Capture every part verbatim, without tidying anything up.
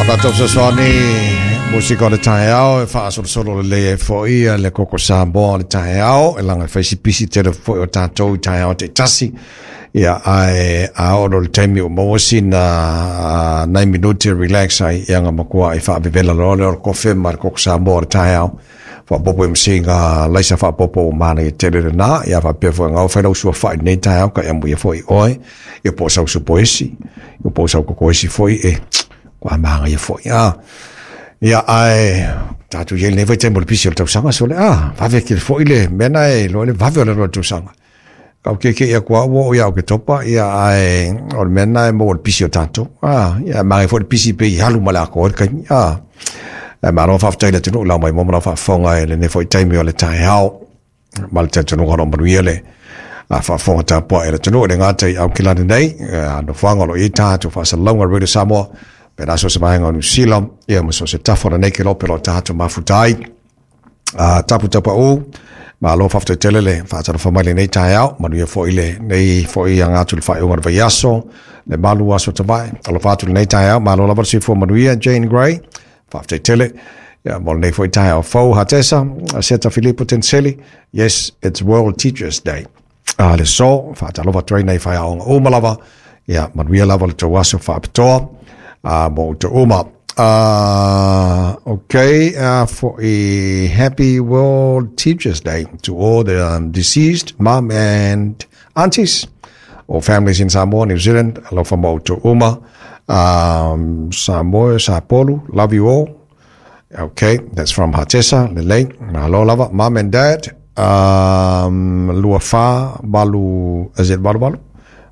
Tatou fesoasoani musika o le taeao e faasolosolo lelei ai foʻi le koko Samoa o le taeao e laga e fai si pisi tele foʻi o tatou i taeao taitasi. Ia ae a oo loa i le taimi ua maua sina nai minute e relax ai, ia na matuaʻi faavevela loa lea o le kofe ma le koko Samoa o le taeao faaopoopo i masiga laisa faaopoopo ua manaia tele lena. Ia faapea foi ona fai lau suafaʻi i lenei taeao ka amuia foi oe, ia po o sau supo esi, ia po o sau koko esi foi e ua manaia foi. A ia ae tatou iai lenei vaitaimi o le pisi o le tausaga sole a vave tele foi le mea na e iloa le vave o le alu a le tausaga. Kau kekeʻi atu a ua oo ia Oketopa, ia ae o le mea lena e maua i le pisi o tatou. A ia manaia foi le pisi pe i alu ma le atoa ai le taimi. A ae malo faafetai i le atunuu lau mai mo ma lau faafofoga i lenei foi taimi o le taeao ma le talitonuga o lo o manuia le faafofoga tapuai a le atunuu e le gata i Aukilani nei, nofoaga o lo o i ai tatou faasalalauga Radio Samoa, pe na so se vaega o Niu Sila, ia ma so o se tafa o lenei kelope o lo o tatou mafuta ai. A tapu tapaʻu, malo faafetai tele le faatalofa mai lenei taeao, manuia foi lenei foi aga atu i le faaiuga o le vaiaso, le malu aso tavae. Alofa atu lenei taeao, malo lava le soifua manuia Jane Gray, faafetai tele. Ia mo lenei foi taeao fou Hatesa, Seta Filipo Tenseli, yes, it's World Teachers Day. A le so, faatalofa atu ai nei faiaoga uma lava, ia manuia lava le tou aso faapitoa a mo outou uma. Uh, okay, uh, for a happy World Teachers Day to all the um, deceased mom and aunties or families in Samoa, New Zealand. Alofa mo outou uma. Um, Samoa, Sapolu, love you all. Okay, that's from Hatesa, lelei. Malo lava, mom and dad. Um, lua fa, valu, is it valu valu?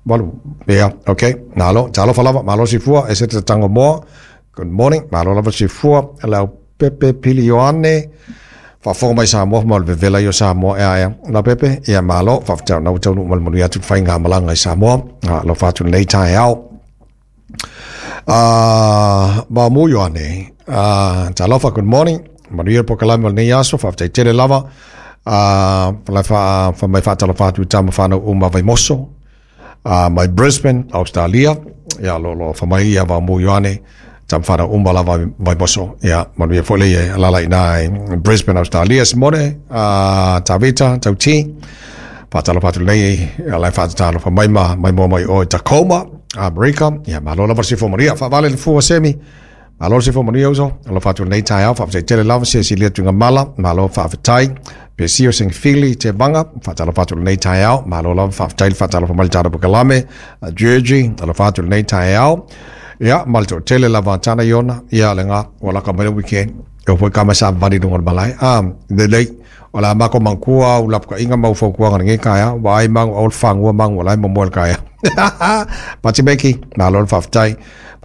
Valu, yeah, okay. Nalo, talofa lava, malo sifua, e se te tango moa. Good morning, malo lava sifua, lau Pepe Pili Ioane, faafofoga mai Samoa ma o le vevela ia o Samoa ea ea. Lau Pepe, ia malo, faafetai ona ua taunuu ma le manuia atu le faigamalaga i Samoa. Alofa atu lenei taeao. Uh, Mamu Ioane, uh, talofa, good morning. Manuia le polokalame o lenei aso, faafetai tele lava. Uh, la fa, fa mai faatalofa atu i tama whanau uma Vaimoso, uh, mai Brisbane, Australia. Ia lo lo fa mai ia Mamu Ioane, tama whanau uma lava Vaimoso. Ia, manuia foi le ia alala i nā i Brisbane, Australia. Simone, uh, Tavita, Tauti, faatalofa atu lenei, ia lai faatatalofa mai ma mai moa mai o i Tacoma, Amerika. Ia malo lava le soifua manuia. Faavale le fua semi. Malo le soifua manuia uso. Alofa atu lenei taeao, faafetai tele lava se silia tuiga mala. Malo faafetai. Pesio Singfili te vanga, faatalofa atu lenei taeao. Malo lava faafetai le faatalofa mai le tatou polokalame. Georgie, alofa atu lenei taeao. Ia, ma le toatele lava tana iona, ia le ngā, ua laka mai le weekend. E o foi ka mai sa vani lunga o le malae. Ah, lelei, o le a mako mangkua u lapukaʻiga ma u fautuaga lenei taeao, ua ai magu aua le fagua magu o la e momoe le taeao. Pati Meki, malo le faafetai.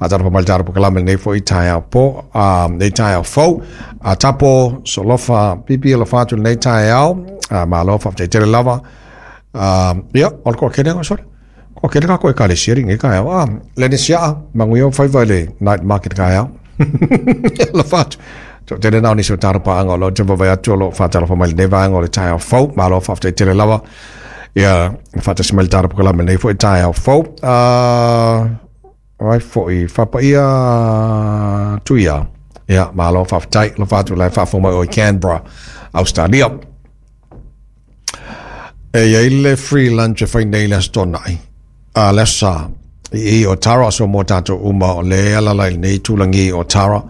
Faatalofa mai le tatou polokalame lenei foi taeao po, ah, lenei taeao fou. A tapo, solofa, pipi alofa atu lenei taeao. Ah, malo faafetai tele lava. Ah, ia, o le toatele ga sole. Toatele tatou ekalesia lenei taeao. Ah, le siaa, manuia o faiva i le night market taeao. Alofa atu. Toatele na o nisi o tatou paaga o lo o te vaai atu o lo o faatalofa mai lenei vaega o le taeao fou. Malo faafetai tele lava. Ia, faatasi mai le tatou polokalame lenei foi taeao fou. Ah, ai foi, faapaia tuia. Ia, malo faafetai. Alofa atu la e faafofoga mai o i Canberra, Australia. E iai le free lunch e fai nei le Aso Toonai, a le Aso Sa, i i o Tara, aso mo tatou uma o le alala i lenei itulagi o Tara,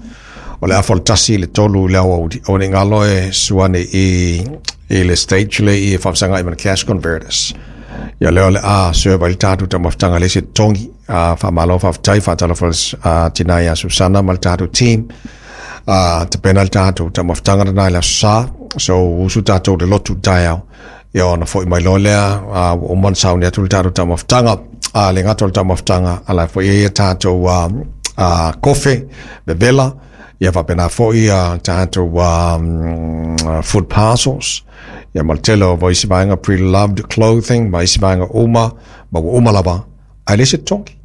o le afa o le tasi i le tolu i le aoauli. Aua ne i galo e suane i, i le stage le i e faafesagai ma le cash converters. Ia lea o le a serve ai le tatou taumafataga i le isi totogi. A faamalo faafetai faatalofa a tina ia Susana ma le tatou team. A tapena le tatou taumafataga lena i le Aso Sa. So usu tatou i le lotu i le taeao. Ia ona foi mai loa lea, a ua uma ona sauni atu le tatou taumafataga. A le gata o le taumafataga, a la e foi e ai a tatou a, a kofe, vevela, ia faapena foi a tatou um, food parcels, ia ma le tele o isi vaega pre-loved clothing, ma isi vaega uma, ma ua uma lava, ae le se totogi.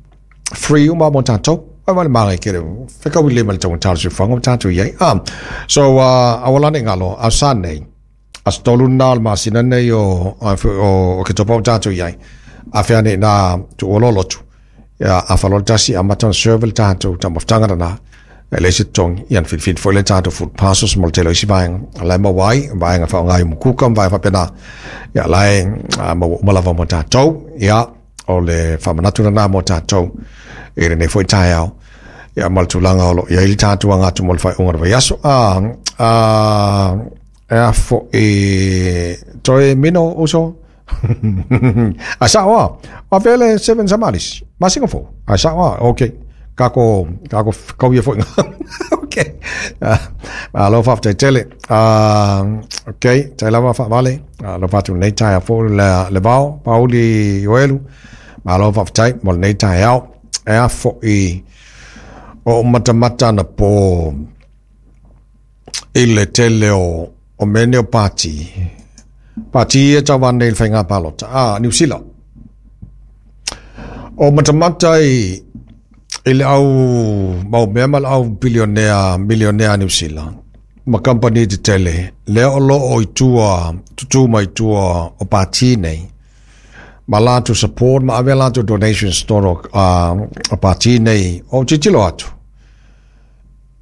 Free uma mo tatou. Ai ma le magai kele, whekau i le ma le taugata o le soifuaga ma tatou i ai. Ah, so, uh, aua la ne i galo, Aso Sa nei, Aso Tolu lena o le masina nei o, o, o Oketopa o tatou i ai. A fea nei nā tuua loa lotu. Ia, a whaloa le tasi, amata ona serve le tatou taumafataga lena. E le se togi, ia na filifili foi le tatou food parcels mo le tele o isi vaega o la e maua ai, vaega faaaoga i umukuka ma vaega faapena, ia la e maua uma lava mo tatou. Ia o le faamanatu lena mo tatou i lenei foi taeao, ia ma le tulaga o lo o i ai le tatou aga atu mo le faaiuga o le vaiaso. A a e a foi toe mino uso a sao a o vele Seven Samalis masina fou a sao a okay kako kako kau ia foi. Okay, malo faafetai tele. Okay, tai lava faavale alo fatu lenei taeao fou le le vao Pauli Ioelu, malo faafetai mo lenei taeao. E a foi o matamata na po i le tele o o mea o pati pati e tau nei le faiga palota a Niu Sila, o matamata i i le au mau mea ma le au bilionea milionea Niu Sila ma company tetele lea o lo o i tua tutu mai tua o pati nei ma latou support ma ave latou donations tonu uh, o pati nei. O tilotilo atu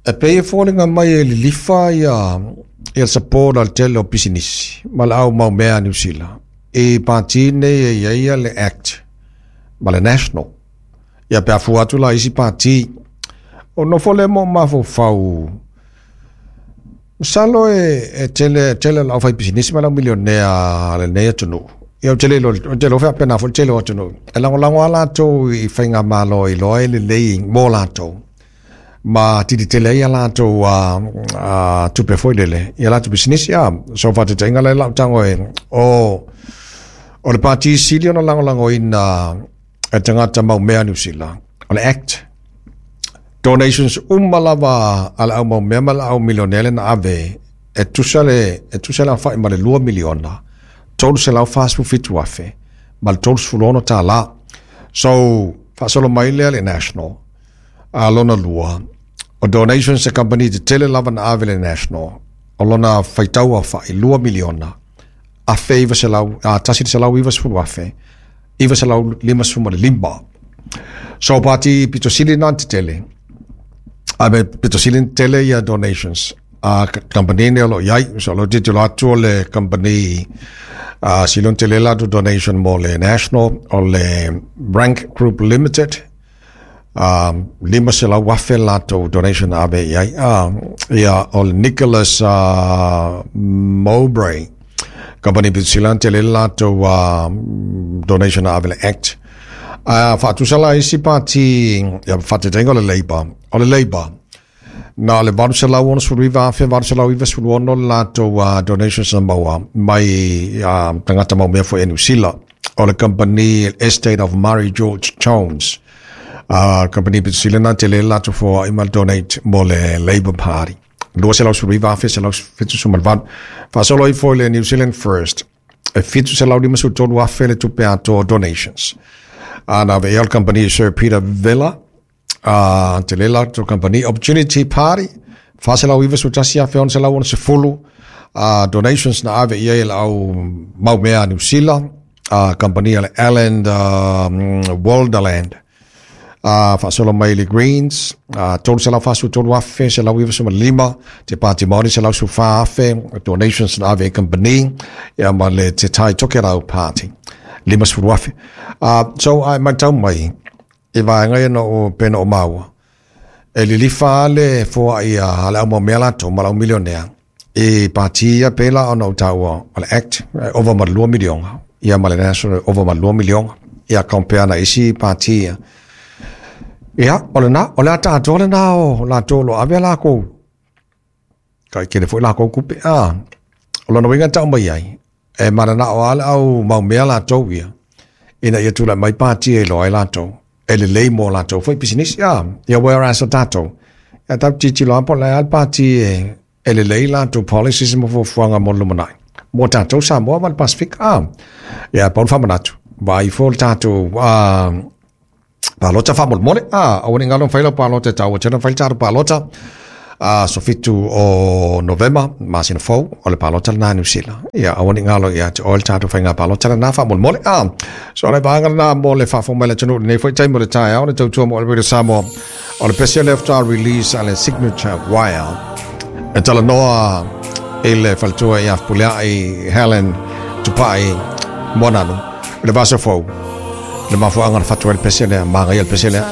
e pei e foliga mai e lilifa ia ia support al tele o pisinisi ma le au mau mea Niu Sila i pati nei e i ai ia le Act ma le National. Ia pe afua atu la isi pati o nofo le mo mafaufau masalo e, e tele tele le aufai pisinisi ma le au milionea lenei atunuu. Ia o tele lo o tele o faapena foi le tele o atunuu e lagolago a latou i faigamalo i loa e lelei mo latou ma tilitele ai ia latou uh, uh, tupe foi lele ia latou pisinisi. A so faataitaiga la lau tago e o o le pati sili ona lagolagoina e tagata mau mea Niu Sila o le Act. Donations uma lava a le au mau mea ma le au milionea le na ave e tusa le e tusa le aofai ma le lua miliona tolu selau fasefulu fitu afe ma le tolu sefulu ono tālā. So faasolo mai lea le National a lona lua o donations e company tetele lava na ave le National o lona faitau aofai lua miliona afe iva selau a tasi le selau iva sefulu afe iva selau lima sefulu ma le lima. So pati pito sili na tetele a me pito sili tele ia donations a company ne o lo iai. So lo tilotilo atu o le company a silon tele latou donation mo le National o le Rank Group Limited, um, lima selau afe latou donation na ave i ai. Uh, ia o le Nicholas uh, Mowbray company pito sili tele latou uh, donation na ave le Act. Uh, faatusa la isi pati ia faataitaiga o le Labour o le Labour na le valu selau ono sefulu iva afe valu selau iva sefulu ono le latou uh, donations na maua mai uh, tagata mau mea foi e Niu Sila. O le company Estate of Murray George Jones, uh, company pito sili na tele latou foai ma donate mo le Labour Party, lua selau sefulu iva afe selau fitu sefulu ma le valu. Faasolo ifo i le New Zealand First e fitu selau lima sefulu tolu afe le tupe atoa donations a na ave i ai le company Sir Peter Villa, uh, tele latou company Opportunity Party fa selau iva sefulu tasi afe ono selau ono sefulu uh, donations na ave i ai le au mau mea Niu Sila, uh, company le Alan uh, Walderland. Uh, faasolo mai le Greens, uh, tolu selau fasefulu tolu afe selau iva sefulu ma le lima. Te Pāti Māori selau sefulu fa afe donations na ave i company ia ma le Te Tai Tokerau Party lima sefulu afe. Uh, so ai matau mai i vaega ia na o pena o maua e lilifa le foai a le au mau mea latou ma le au milionea i pati ia pela ona o taua o le Act ova ma le lua miliona ia ma le National ova ma le lua miliona ia compare na isi pati ia. Ia o lena o le ata atoa lena o latou o lo ave lakou kai kele foi lakou kupe a o lona uiga tau mai ai e mananao a le au mau mea latou ia ina ia tulai mai pati e iloa ai latou e lelei mo latou foi pisinisi a ia whereas o tatou ia tatou tilotilo a po o le a le pati e e lelei latou policies ma fuafuaga mo le lumanai mo tatou Samoa ma le Pasifika a ia pau le faamanatu vaai ifo le tatou a palota faamolemole a aua ne i galo ma fai lau palota e taua tele ona fai le tatou palota. Aso fitu o Novema, masina fou, o le palota lena Niu Sila. Ia, aua ne i galo ia te oe le tatou faiga palota lena faamolemole. A, so le vaega lena mo le faafofoga mai le atunuu lenei foi taimi o le taeao le tautua mo le Radio Samoa. O le pesi lea faatoa release a le Signature Wire. E talanoa i le faletua ia Fepuleai Helen Tupai Moananu i le vaiaso fou le mafuaaga na fatu ai le pese lea, magaia le pese lea.